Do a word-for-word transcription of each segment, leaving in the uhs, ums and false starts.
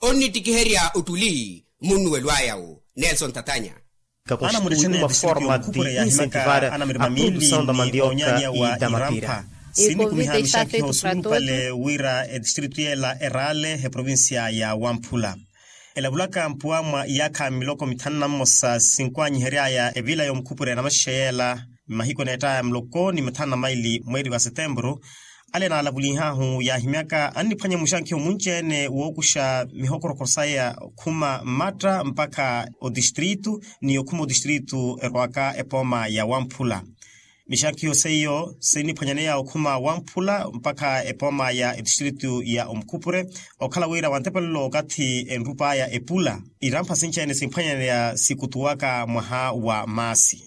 onnittikiherya ottuli munnuwelo aya wo nelson tatanya. Kakonstitui uma forma de incentivar a produção da mandioka e da mapira. Sinikumiha mixakhiho suulupale wira etistritu yeela eraale eprovincia ya wamphula. Elavulaka mpuwa mwa iyaakha miloko mithanu na mmosa sinkuwanyihery'aya evila y'omukhupure na maxexe yeela, mahiku eneett'aya muloko ni mathanu na maili mweeri wa setempuru. Ale naalavulihahu yaahimyaka anniphwanya muxankhiho munci-ene wookuxa mihokoroko saya okhuma mmatta mpakha otistritu, ni okhuma otistritu erowaka epooma ya wamphula. Mixankhiho seiyo sinniphwanyaneya okhuma wamphula mpakha epooma ya etistritu ya omukhupure. Okhala wira wantepelelo okathi enrup'aya epula, irampha sinci-ene simphwanyaneya sikutuwaka mwaha wa maasi.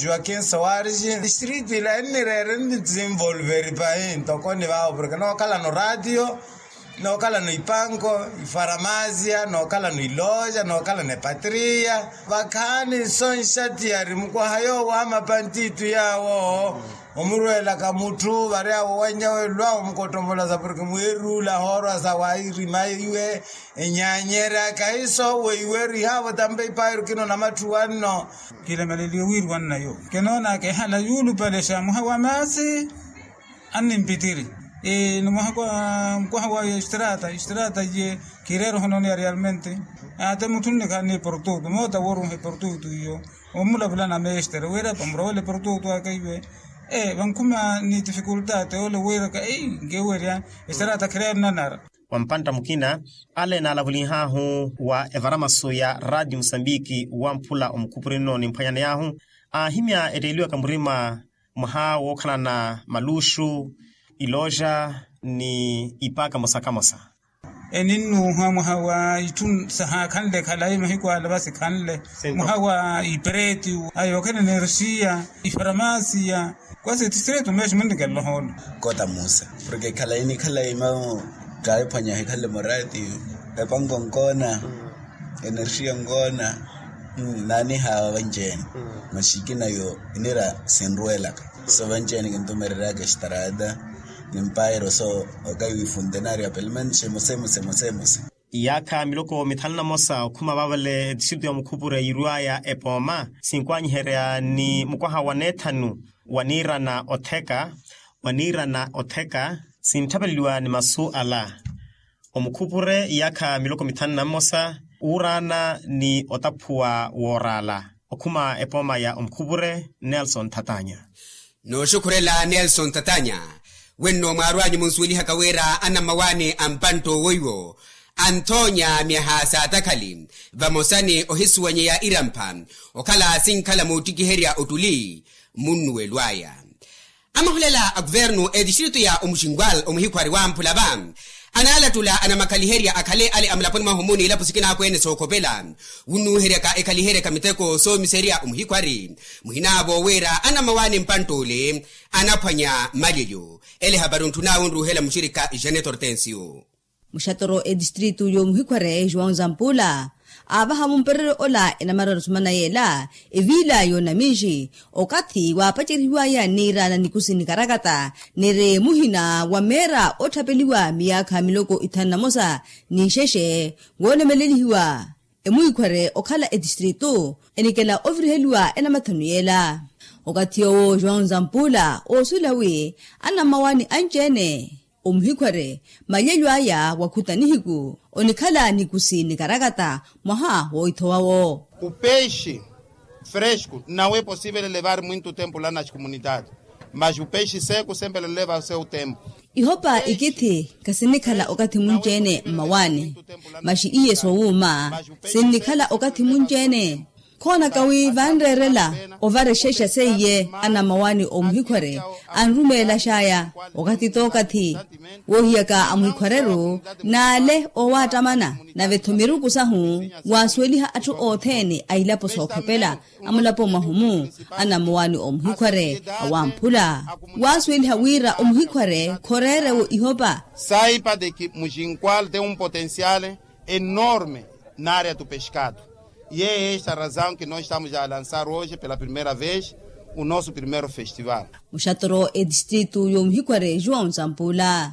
Joaquim soares, distrito ila ennireere nitsinvolveri pahi ntoko ni vaavo porke nookhalano ratio, nookhalano ipanko, ifaramasia, nookhalano iloja, nookhalano epatria. Vakhaani nso nxatiyari mukwaha yoowo amapantitu yaawo omurweelaka mutthu vary'awo wannya welwawo mukottomolasa porke mweeruula hoorwa sa wairima iwe. Enyaanyerya kahiso weiweru ihaavo tampa ipaayiru kino na matthu wanno. Kilemeleliwe wiiri wannayo kinoonaka ehala yuulupale xa mwaha wa maasi. Annimpitiri ni mwaha kwa mukwaha wa estrata estrata ye kireera ohononeya realmente. Ate mutthu nnikhaani portutu moota wooruha portutu iyo. Omulavula na mestre wira pamurowele portutu aka iwe. Vankhuma ni tifikultate ole wiiraka ei nkewerya. Estrata khireera nanara. Wa mpantta mukina ale naalavulihahu wa evaramasu ya radio musambiki wamphula omukhupurino nimphwanyaneyahu aahimya etteeliwaka murima mwaha wookhalana maluxu, iloja ni ipaaka mosa kamosa. Eninnuuha mwaha wa itthu sahaakhanle khalayi mahiku ala vasikhanle mwaha wa ipereti, ayookhala enerxiya, ifaramasia. Kwasi tistrito meexi munnikela ohoolo. Kota musa porke khalayi ni khalayi mamu kaayiphwanyaha ekhanle murati. Epanko nkoona, enerxiya nkoona. Naanihawa vanci-ene maxikina yo inira sinruwelaka. So vanci-ene kintumereryaka estrata ni mpairo so okayi wifuntenaria pelo menos emosemosemosemosa. Iyaakha miloko mithanu na mosa okhuma vaavale etistritu ya mukhupure yiirw'aya epooma sinkuwanyiherya ni mukwaha wa neethanu wa niirana otheka wa niirana otheka sintthapeleliwa ni masu ala. Omukhupure iyaakha miloko mithanu na mmosa wuuraana ni otaphuwa wooraala okhuma epooma ya omukhupure nelson thatanya. Nooxukhurela nelson thatanya. Wenno mwaarwanyu munsuwelihaka wira anammawaani a mpantta owoiwo anthoonya myaha saatakhali vamosa ni ohisuwanyeya irampha okhala sinkhala moottikiherya ottuli munnuwelo aya. Amahulela a kuvernu etistritu ya omuxinwal omuhikhwari wamphula va anaalattula anamakhaliherya akhale ale amulaponi mwahumu n'ilapo sikinaakwene sookhopela. Wunnuuheryaka ekhaliheryaka miteko soomiserya omuhikhwari muhinaavo wira anammawaani mpantta ole anaphwanya mmalelyo. Ele hapari ontthunaawe onruuhela muxirikha janet hortensio. Muxatoro etistritu y'omuhikhware joão zampula aavaha mumpereryo ola enamararu sumana yeela eviila y'onaminxi okathi waapacerihiwaya niiraana nikusi nikarakata niri muhina wa meera otthapeliwa miyaakha miloko ithanu na mosa n'ixexe woolemelelihiwa. Emwikhware okhala etistritu enikela oviriheliwa enamathanu yeela okathi yoowo joão zampula oosuwela wi anammawaani anci-ene omuhikhware malyelyo aya wakhuta nihiku onikhala nikusi nikarakata mwaha wooithowawo. Upeixe fresco não é possível levar muito tempo lá nas comunidades mas upeixe seco sempre leva seu tempo. Ihopa ikithi khasinnikhala okathi munci-ene mmawaani maxi iye soowuuma sinnikhala okathi munci-ene. Khoonaka wi vanreerela ovarexexa seiye anammawaani omuhikhware anrumeelaxaya okathi t'okathi woohiyaka amuhikhware-ru n'ale oowaattamana nave-tho miruku sahu waasuweliha atthu othene a ilapo sookhopela amulapo mwahumu anammawaani omuhikhware awamphula waasuweliha wira omuhikhware khoreere-wo ihopa. Saipa de ki muxinkwal tem um potencial enorme na área do pescado. E é esta razão que nós estamos a lançar hoje pela primeira vez o nosso primeiro festival. Muxatoro etistritu y'omuhikhware joão zampula